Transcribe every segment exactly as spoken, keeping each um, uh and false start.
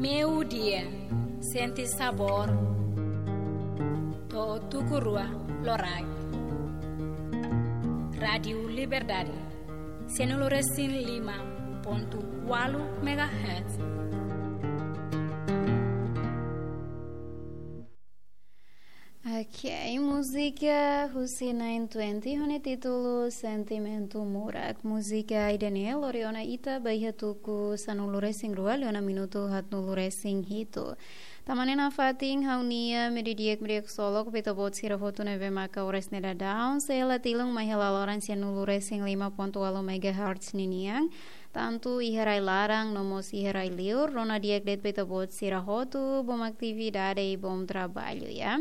Meiudia, sente sabór. To'o tuku rua loraik. Rádiu Liberdade, sianulu resin lima pontu ualu megahertz. Ok, múzika husi nine twenty ho nia títulu Sentimentu Murak. Múzika ida-ne'e lori ona ita ba iha tuku sanulu resin rua liu ona minutu haatnulu resin hitu. Tan ne'e nafatin ha'u-nia mediodía, mediodía ksolok ba ita-boot sira hotu ne'ebé maka oras ne'e daudaun sei hela tilun mai iha laloran sianulu resin lima pontu ualu megahertz ninian, tantu iha rai laran no mós iha rai liur. Rona di'ak de'it ba ita-boot sira hotu, bom atividade i bom traballu, ya.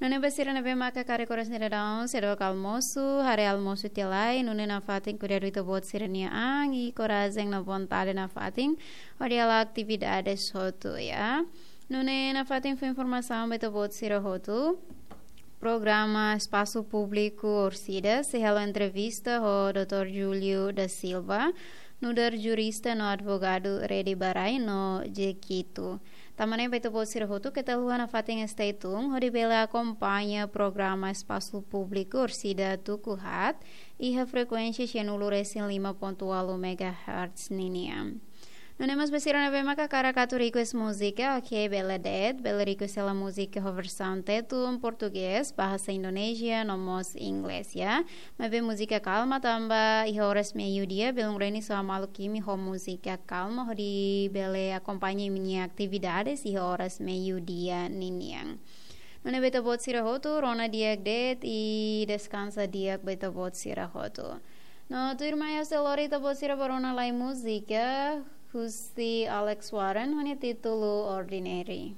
Nune'e ba sira ne'ebé maka karik oras ne'e daudaun seidauk almosu, haree almosu tiha lai, nune'e nafatin kuidadu ita-boot sira-nia an i korajen no vontade nafatin hodi hala'o atividades hotu, ya. Nune'e nafatin fó informasaun ba ita-boot sira hotu. Programa Espasu Públiku Orsida sei halo entrevista ho doutór Júlio da Silva, nu'udar jurista no advogadu Rede ba Rai no Jequitu. Tan ne'e ba ita-boot sira hotu keta haluha nafatin stay tune hodi bele akompaña programa Espasu Públiku Orsida tuku haat iha frekuénsia sianulu resin lima pontu ualu megahertz ninian. Nune'e mós ba sira ne'ebé maka hakarak atu request múzika, ok, bele de'it, bele request hela múzika ho versaun Tetun, Portugés, Bahasa Indonesia no mós Inglés, ya. Maibé múzika kalma tanba iha oras meiudia belun Reni só maluk imi ho múzika kalma hodi bele akompaña imi-nia atividades iha oras meiudia ninian. Nune'e ba ita-boot sira hotu, rona di'ak de'it i deskansa di'ak ba ita-boot sira hotu. No tuirmai ha'u sei lori ita-boot sira ba rona lai múzika husi Alex Warren ho nia títulu Ordinary.